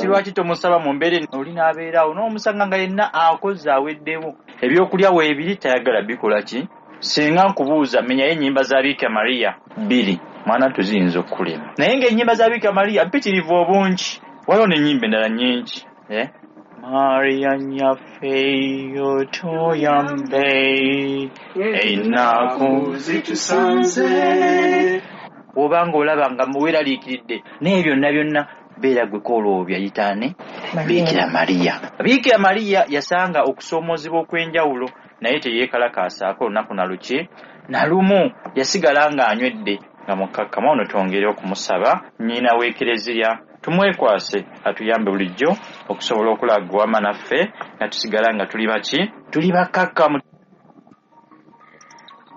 Kati lwaki tomusaba mu mbeera oli n'abeeraawo n'omusanga nga yenna akoze aweddewo, ebyokulya weebiri tayagala bikola ki? Singa nkubuuza menyayo ennyimba za Biikira Maria bbiri, mwana tuziyinza okukulema, naye ng'ennyimba za Biikira Maria mpitirivu obungi, waliwo n'ennyimba endala nnyingi. Maria nnyaffe otuyambe ennaku zitusanze. Bw'oba ng'olaba nga weeraliikiridde naye byonna byonna beera gwe kooloobya yitaane Biikira Maria. Biikira Maria yasanga okusoomoozebwa okw'enjawulo naye teyeekalakaasaako olunaku na luki na lumu, yasigala ng'anywedde nga mukkakkamu. Ono twongere okumusaba nnyina w'Ekereziya tumwekwase atuyambe bulijjo okusobola okulaga wama naffe nga tusigala nga tuli baki, tuli bakkakkamu.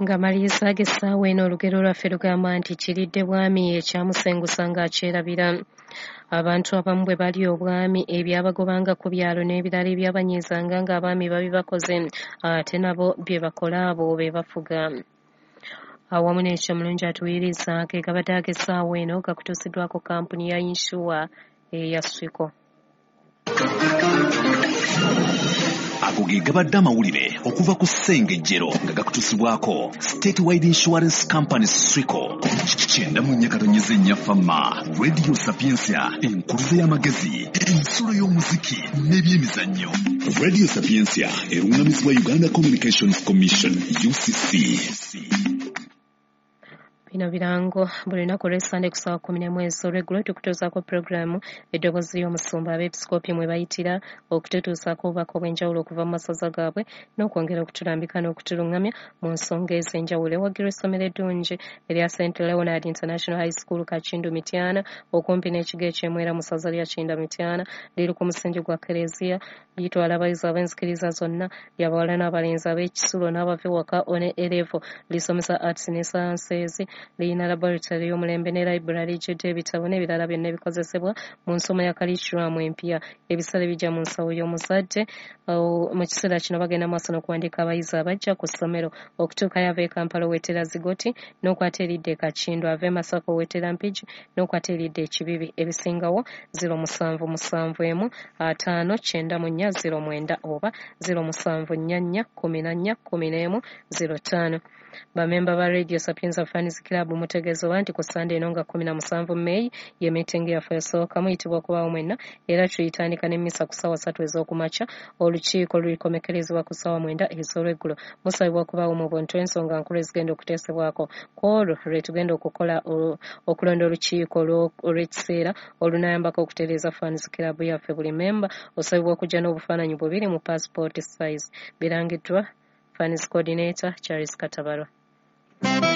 Nga maliriza ag'essaawa eno, olugero lwaffe lugamba nti kiridde bwami ekyamusengusa ng'akyerabira. Abantu abamu bwe bali obwami ebyabagobanga ku byalo n'ebirala ebyabanyiizanga ng'abaami babibakoze, ate nabo bye bakola abo be bafuga. Awamu n'ekyo mulungi atuwuliriza, ge gabadde ag'essaawa eno gakutuusiddwako kampuni ya yinsuwa eya Swiko. Ago ge gabadde amawulire okuva ku Ssengejjero nga gakutuusibwako State Wide Insurance Company Swico. 94.4 Fama Radio Sapientia, enkuluze y'amagezi, ensulo y'omuziki n'ebyemizannyo. Radio Sapientia erungamizibwa Uganda Communications Commission, UCC. Bino birango. Buli lunaku olw'Essande ku ssaawa 11 ez'olweggulo tukutuusaako pulogulaamu Eddoboozi ly'Omusumba, abeepisikoopi mwe bayitira okututuusaako obubaka obw'enjawulo okuva mu masaza gaabwe n'okwongera okutulambika n'okutuluŋŋamya mu nsonga ez'enjawulo. Ewagirwa essomero eddungi erya St Leonard International High School, Kakindu, Mityana, okumpi n'ekigo eky'Emwera mu ssaza lya Kinda Mityana. Liri ku musingi gwa Kereziya, litwala abayizi ab'enzikiriza zonna, lyabawala n'abalenzi, ab'ekisulo n'abava ewaka one A level. Lisomesa arts ne sciences, lirina laboratory y'omulembe ne library ejjudde ebitabo n'ebirala byonna ebikozesebwa mu nsoma ya curriculum empya. Ebisale bijja mu nsawo y'omuzadde. Mu kiseera kino bagenda maaso n'okuwandiika abayizi abajja ku ssomero. Okutuukayo, ava e Kampala owetera Zigoti n'okwata eridda e Kakindu, ava e Masaka owetera Mpigi n'okwata eridda e Kibibi. Ebisingawo 0771 594 09 oba 0744 14 11 05. Bamemba ba Radio Sapienza Fans Club mutegeezebwa nti ku Ssande eno nga 17 Meeyi ye miitingi yaffe esooka. Muyitibwa okubaawo mwenna era tuyitandika n'emmisa ku ssaawa 3 ez'okumakya. Olukiiko lulikomekerezebwa ku ssaawa 9 ez'olweggulo. Musabibwa okubaawo mu buntu, ensonga nkulu ezigenda okuteesebwako. Ku olwo lwe tugenda okukola okulonda olukiiko olw'ekiseera olunayambako okutereeza Fans Club yaffe. Buli memba osabibwa okujja n'obufaananyi bubiri mu passport size. Birangiddwa Fans Coordinator Charles Katabarwa.